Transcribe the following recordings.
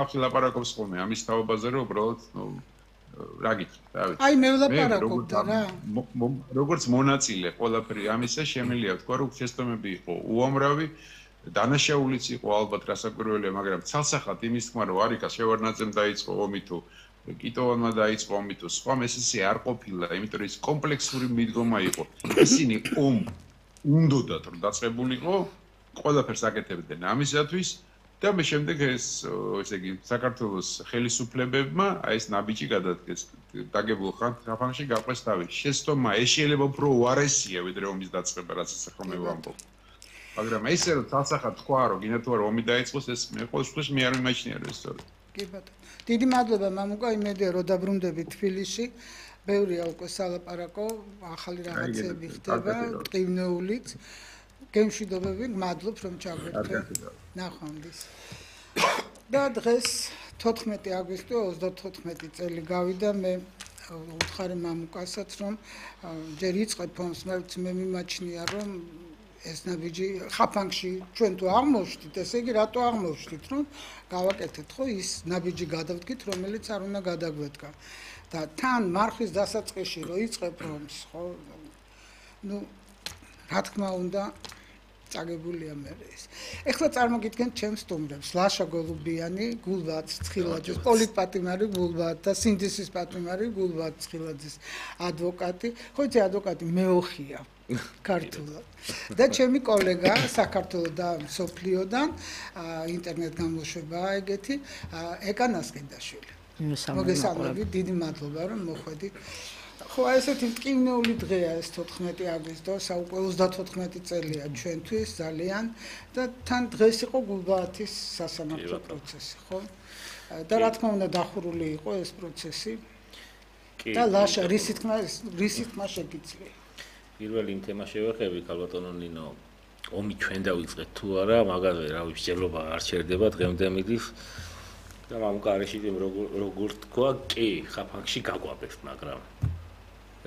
ლაპარაკობს ხოლმე ამის თაობაზე, რომ უბრალოდ რა გითხრათ, რა ვიცი. აი მე ვლაპარაკობ და რა. როგორც მონაწილე ყველაფერი ამისა შემიძლია თქვა, რომ შეცდომები იყო უამრავი, დანაშაულიც იყო ალბათ რასაკვირველია, მაგრამ ცალსახად იმის თქმა, რომ არიკას შევარდნაძემ დაიწყო ომი თუ კიტოვანმა დაიწყო ომი თუ სხვა ეს არ ყოფილა, იმიტომ რომ ის კომპლექსური მიდგომა იყო. ისინი უნდათ რომ დაწყებულიყო, ყველაფერს აკეთებდნენ ამისათვის და მე შემდეგ ესე იგი საქართველოს ხელისუფლებებმა ეს ნაბიჯი გადადგეს დაგებულ ხანში გაყვეს თავი. შეცდომა ეს შეიძლება უფრო უარესია ვიდრე ომის დაწყება, რაც ახლა მე ვამბობ. მაგრამ ესე რომ თალსახად თქვა რომ გინდა თუ არა ომი დაიწყოს ეს მე ყოველ შემთხვევაში მე არ ვიმაჩნია რომ ეს სწორია. კი ბატონო. დიდი მადლობა მამუკა, იმედია რომ დაბრუნდებით თბილისში. ბევრია უკვე სალაპარაკო, ახალი რაღაცები ხდება, ტკივნეულიც. გემშვიდობები, მადლობ რომ ჩაგვერთვით. ნახვამდის. და დღეს 14 აგვისტო 34 წელი გავიდა მე უთხარი მამუკასაც რომ ჯერ იწყებ ომს, მე მიმაჩნია რომ ეს ნაბიჯი ხაფანგში ჩვენ თუ აღმოვშთით, ესე იგი რატო აღმოვშთით, რომ გავაკეთეთ ხო ის ნაბიჯი გადავდგით, რომელიც არ უნდა გადაგვედგა. და თან მარხვის დასაწყისში რომ იწყებ ომს, ხო? ნუ რა თქმა უნდა წაგებულია მე ეს. ეხლა წარმოგიდგენთ ჩემს სტუმრებს, ლაშა გოლუბიანი, გულბად ცხილაძის, პოლიტპატიმარი გულბად და სინდისის პატიმარი გულბად ცხილაძის ადვოკატი. ხო იცი ადვოკატი მეოხია ქართულად. და ჩემი კოლეგა საქართველოს და სოფლიოდან ინტერნეტ გამოშვებაა ეგეთი ეკა ნასკენდაშვილი. მოგესალმებით, დიდი მადლობა რომ მოხვედით. ხო, ესეთი მტკივნეული დღეა ეს 14 აგვისტო, საუკე 34 წელია ჩვენთვის ძალიან და თან დღეს იყო გულბაათის სასამართლო პროცესი, ხო? და რა თქმა უნდა დახურული იყო ეს პროცესი. და ლაშა რისი თქმა შეგიძლია? პირველი იმ თემა შევეხები, ქალბატონო ნინო, ომი ჩვენ დავიწყეთ თუ არა, მაგაზე რავი მსჯელობა არ ჩერდება დღემდე მიდის. და მამუკა არიშიდიმ როგორ თქვა, კი, ხაფანგში გაგვაბეს, მაგრამ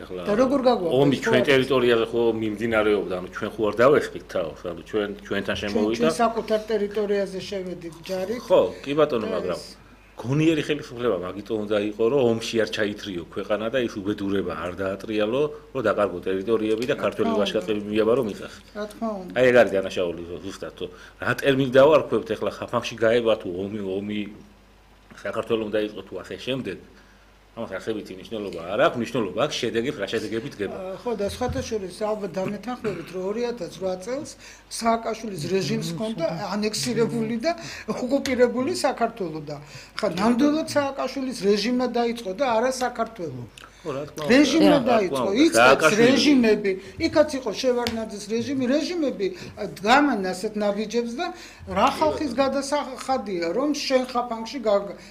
ეხლა და როგორ გაგვაბეს? ომი ჩვენ ტერიტორიაზე ხო მიმდინარეობდა, ანუ ჩვენ ხო არ დავეხით თავს, ანუ ჩვენთან შემოვიდა. ჩვენ საკუთარ ტერიტორიაზე შევედით ჯარით. ხო, კი ბატონო, მაგრამ გონიერი ხელისუფლება მაგიტო უნდა იყო, რომ ომში არ ჩაითრიო ქვეყანა და ის უბედურება არ დაატრიალო, რომ დაკარგო ტერიტორიები და ქართული ვაჟკაცები მიაბარო მიწას. რა თქმა უნდა. აი ეგ არის დანაშაული ზუსტად, რა ტერმინი დავარქვევთ ეხლა ხაფანგში გაება თუ ომი საქართველოს უნდა იყოს თუ ასე შემდეგ. ამას არსებითი მნიშვნელობა არ აქვს, მნიშვნელობა აქვს შედეგებს, რა შედეგებით დგება. ხო და სხვათა შორის ალბათ დამეთანხმებით, რომ 2008 წელს სააკაშვილის რეჟიმს ჰქონდა ანექსირებული და ოკუპირებული საქართველო და ხა ნამდვილად სააკაშვილის რეჟიმმა დაიწყო და არა საქართველო. რეჟიმმა დაიწყო, იწყებს რეჟიმები, იქაც იყო შევარდნაძის რეჟიმები გამან ასეთ ნაბიჯებს და რა ხალხის გადასახადია, რომ შენ ხაფანგში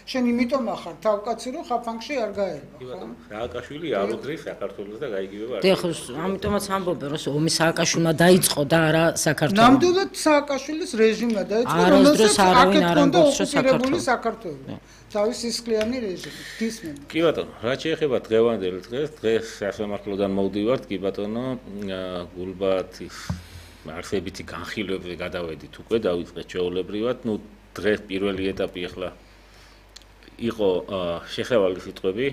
შენ იმიტომ ახარ თავკაცი, რომ ხაფანგში არ გაერვა, ხო? სააკაშვილი არ უდრის საქართველოს და გაიგივება. ხო, ამიტომაც ამბობენ, რომ ომი სააკაშვილმა დაიწყო და არა საქართველო. ნამდვილად სააკაშვილის რეჟიმმა დაიწყო, რომელსაც აქეთ ჰქონდა ოკუპირებული საქართველო. თავის სისხლიანი რეჟიმი, გისმენთ. კი ბატონო, რა შეეხება დღევანდელ დღეს სასამართლოდან მოვდივართ, კი ბატონო, გულბაათის არსებითი განხილვებზე გადავედით უკვე, დავიწყეთ ჩვეულებრივად, ნუ დღეს პირველი ეტაპი ახლა იყო შესავალი სიტყვები,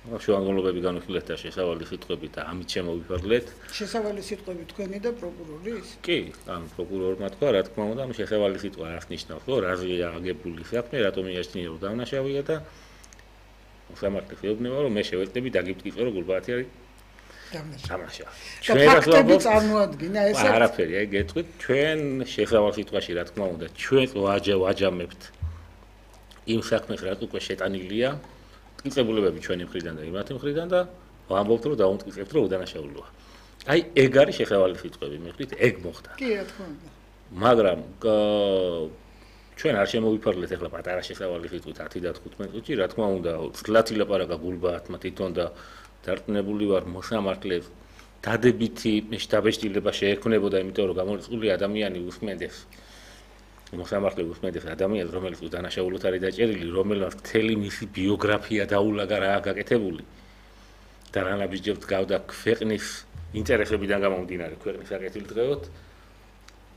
შუამავლობები განვიხილეთ და შესავალი სიტყვები და ამით შემოვიფარგლეთ. შესავალი სიტყვები თქვენი და პროკურორის? კი, ანუ პროკურორმა თქვა, რა თქმა უნდა, შესავალი სიტყვა რას ნიშნავს, რომ რაზეა აგებული საქმე, რატომ იაშნია რომ დავნაშავია და სამართლის ეუბნება, რომ მე შევეცდები დაგიფტკიცო, რომ გულბაათი არის დამნაშავე. ჩვენ ფაქტები წარმოადგინა ესე? არაფერი, აი გეტყვით, ჩვენ შესავალ სიტყვაში რა თქმა უნდა, ჩვენ ვაჯამებთ იმ საქმეს, რაც უკვე შეტანილია. მტკიცებულებები ჩვენი მხრიდან და იმათი მხრიდან და ვამბობთ რომ დაუმტკიცებთ რომ უდანაშაულოა. აი ეგ არის შესავალი სიტყვები, მიხდით, ეგ მოხდა. კი, რა თქმა უნდა. მაგრამ ჩვენ არ შემოვიფარგლეთ ახლა პატარა შესავალი სიტყვით 10 და 15 წუთში, რა თქმა უნდა, ცლათი ლაპარაკა გულბაათმა თვითონ და დარწმუნებული ვარ მოსამართლეს დადებითი შტაბეშტილება შეექმნებოდა, იმიტომ რომ გამორიცხული ადამიანი უსმენდეს მოსამართლე უსმენდეს ადამიანს, რომელიც უდანაშაულოდ არის დაჭერილი, რომელმაც მთელი მისი ბიოგრაფია დაულაგა რა გაკეთებული და რა ნაბიჯებს გავდა ქვეყნის ინტერესებიდან გამომდინარე ქვეყნის აკეთილდღეოდ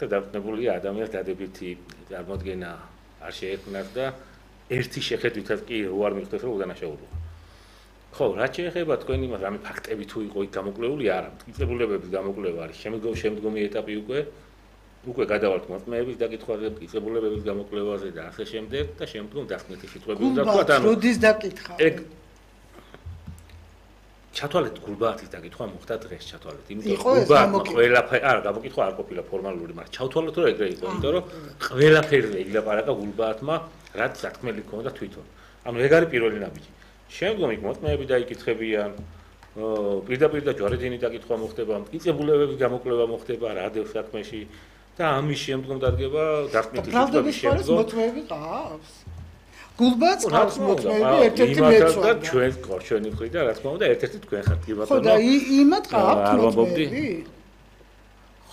და დარწმუნებულია ადამიანს დადებითი წარმოდგენა არ შეექმნას და ერთი შეხედვითაც კი არ მიხდეს რომ უდანაშაულოა. ხო, რაც შეეხება თქვენ იმას, რამე ფაქტები თუ იყო იქ გამოკვლეული, არა, მტკიცებულებების გამოკვლევა არის შემდგომი ეტაპი უკვე გადავალთ მოწმეების დაკითხვაზე, მტკიცებულებების გამოკვლევაზე და ასე შემდეგ და შემდგომ დასკვნითი სიტყვები უნდა თქვა და როდის დაკითხავ? ჩათვალეთ გულბაათის დაკითხვა მოხდა დღეს ჩათვალეთ, იმიტომ რომ გულბაათმა ყველაფერი არა გამოკითხვა არ ყოფილა ფორმალური, მაგრამ ჩავთვალოთ რომ ეგრე იყო, იმიტომ რომ ყველაფერზე ილაპარაკა გულბაათმა, რაც სათქმელი ჰქონდა თვითონ. ანუ ეგ არის პირველი ნაბიჯი. შემდგომ იქ მოწმეები დაიკითხებიან, პირდაპირ და ჯვარედინი დაკითხვა მოხდება, მტკიცებულებების გამოკვლევა მოხდება რადიოს საქმეში და ამის შემდგომ დადგება დასკვნითი სიტყვების შემდგომ. მოწმეები ყავს. გულბაათს ყავს მოწმეები ერთ-ერთი მეცვა და ჩვენი მხრიდან რა თქმა უნდა ერთ-ერთი თქვენ ხართ კი ბატონო. ხო და იმათ ყავთ მოწმეები?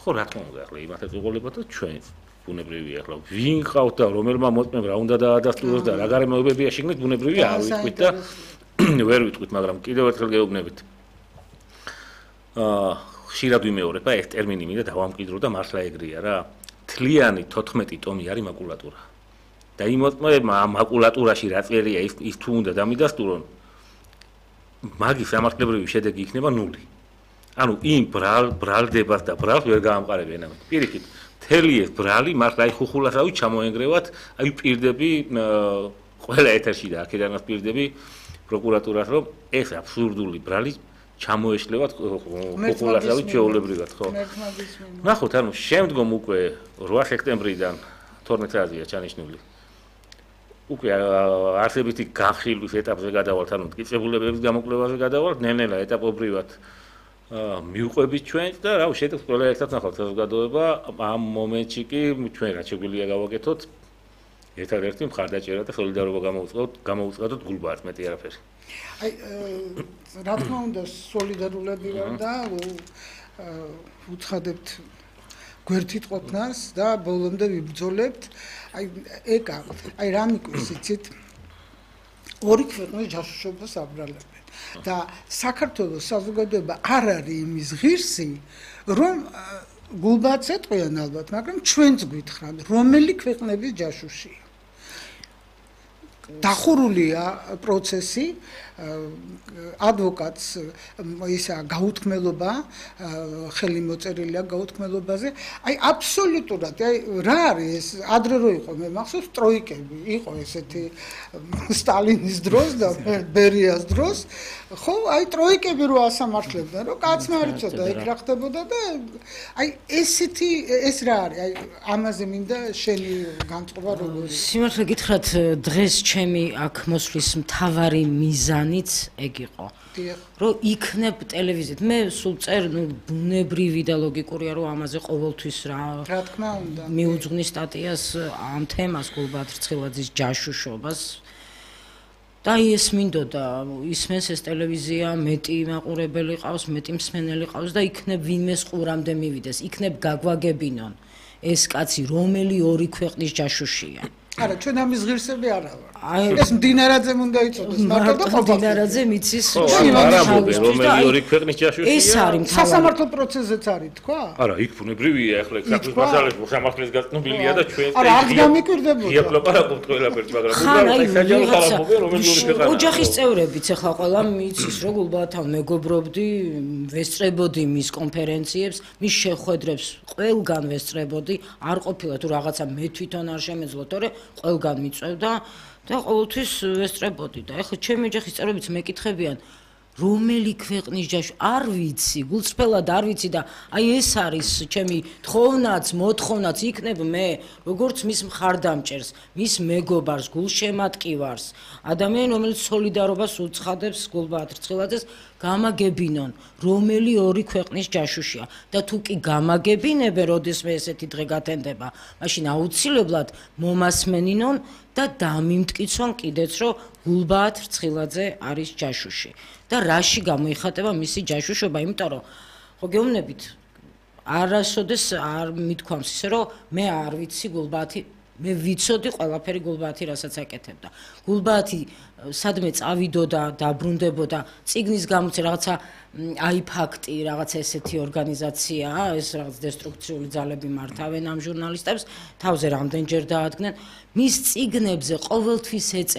ხო რა თქმა უნდა ახლა იმათაც უყოლებათ და ჩვენ ბუნებრივია ახლა ვინ ყავთ და რომელმა მოწმემ რა უნდა დაადასტუროს და რა გარემოებებია შეგნით ბუნებრივია არ ვიტყვით და ვერ ვიტყვით მაგრამ კიდევ ერთხელ გეუბნებით ხშირად ვიმეორებ ეს ტერმინი მინდა დავამკვიდრო და მართლა ეგრეა რა თლიანი 14 ტომი არის მაკულატურა და იმ მოწმეებმა ამ მაკულატურაში რა წერია ის თუ უნდა დამიდასტურონ მაგის სამართლებრივი შედეგი იქნება 0 ანუ იმ ბრალდებას და ბრალს ვერ გაამყარებენ ამით პირიქით თელი ეს ბრალი მართლა აი ხუხულასავით ჩამოენგრევათ აი პირდები ყველა ეთერში და აქედანაც პირდები პროკურატურას რომ ეს აბსურდული ბრალი ჩამოეშლევათ ხუხულასავით შეულებრივად ხო ნახოთ ანუ შემდგომ უკვე 8 სექტემბრიდან 12 წელია ჩანიშნული უკვე არსებითი განხილვის ეტაპზე გადავალთ ანუ მტკიცებულებების გამოკვლევაზე გადავალთ ნელ-ნელა ეტაპობრივად მიუყვებით ჩვენს და რა შედეგს ყველა ერთად ნახავთ საზოგადოება ამ მომენტში კი ჩვენ რაც შეგვიძლია გავაკეთოთ ერთადერთი მხარდაჭერა და სოლიდარობა გამოვუწყდოთ გულბაათს მეტი არაფერი აი რა თქმა უნდა სოლიდარულები ვარ და უცხადებთ გვერდით ყოფნას და ბოლომდე ვიბრძოლებთ აი ეკა აი რა მიკვირს იცით ორი ქვეყნის ჯაშუშობას აბრალებენ და საქართველოს საზოგადოება არ არის იმის ღირსი რომ გულბაათს ეტყვიან ალბათ მაგრამ ჩვენც გვითხრათ რომელი ქვეყნების ჯაშუშია დახურულია პროცესი ადვოკატს ისა გაუთქმელობა ხელი მოწერილია გაუთქმელობაზე აი აბსოლუტურად აი რა არის ეს ადრე რო იყო მე მახსოვს ტროიკები იყო ესეთი სტალინის დროს და ბერიას დროს ხო აი ტროიკები რო ასამართლებდნენ რომ კაცმა არ იცოდა ეგ რა ხდებოდა და აი ესეთი ეს რა არის აი ამაზე მინდა შენი განწყობა როგორია სიმართლე გითხრათ დღეს ჩემი აქ მოსვლის მთავარი მიზანიც ეგ იყო რომ იქნებ ტელევიზიით მე სულ წერ ბუნებრივი და ლოგიკურია რომ ამაზე ყოველთვის რა თქმა უნდა მიუძღვნის სტატიას ამ თემას გულბაათ რცხილაძის ჯაშუშობას და ეს მინდოდა ისმენს ეს ტელევიზია მეტი მაყურებელი ყავს მეტი მსმენელი ყავს და იქნებ ვინმეს ყურამდე მივიდეს იქნებ გაგვაგებინონ ეს კაცი რომელი ორი ქვეყნის ჯაშუშია არა ჩვენ ამის ღირსები არა ვარ ეს მდინარაძემ უნდა იცოდეს მარტო და ყოფილი მდინარაძე მიცის რომელი ორი ქვეყნის ჯაშუშია ეს არის სასამართლო პროცესზეც არის თქვა არა იქ ბუნებრივია ახლა საქართველოს მასალაში მოსამართლეს გაწნობილია და ჩვენ არა არ გამიკვირდებოდა იაპლაპარაკობთ ყველაფერს მაგრამ უბრალოდ ეს საჯარო ხალხობია რომელი ორი ქვეყანა ოჯახის წევრებიც ახლა ყველა მიცის რომ გულბაათთან მეგობრობდი ვესწრებოდი მის კონფერენციებს მის შეხვედრებს ყველგან ვესწრებოდი არ ყოფილა თუ რაღაცა მე თვითონ არ შემეძლო თორე ყველგან მიწევდა და ყოველთვის ვესწრებოდი და ეხლა ჩემი ოჯახის წევრებიც მეკითხებიან რომელი ქვეყნის ჯაშვი არ ვიცი გულწრფელად არ ვიცი და აი ეს არის ჩემი თხოვნაც მოთხოვნაც იქნებ მე როგორც მის მხარდამჭერს მის მეგობარს გულშემატკივარს ადამიანი რომელიც სოლიდარობას უცხადებს გულბაათ რცხილაძეს გამაგებინონ რომელი ორი ქვეყნის ჯაშუშია და თუ კი გამაგებინებენ როდესმე ესეთი დღე გათენდება მაშინ აუცილებლად მომასმენინონ და დამიმტკიცონ კიდეც რომ გულბაათ რცხილაძე არის ჯაშუში და რაში გამოიხატება მისი ჯაშუშობა იმიტომ რომ ხო გეუბნებით არასოდეს არ მithქვამს ისე რომ მე არ ვიცი გულბაათი მე ვიცოდი ყველაფერი გულბაათი რასაც აკეთებდა. გულბაათი სადმე წავიდოდა, დაბრუნდებოდა, წიგნის გამოცე რაღაცა აი ფაქტი, რაღაცა ესეთი ორგანიზაციაა, ეს რაღაც დესტრუქციული ძალები მართავენ ამ ჟურნალისტებს, თავზე რამდენჯერ დაადგნენ. მის წიგნებზე ყოველთვის ეწერა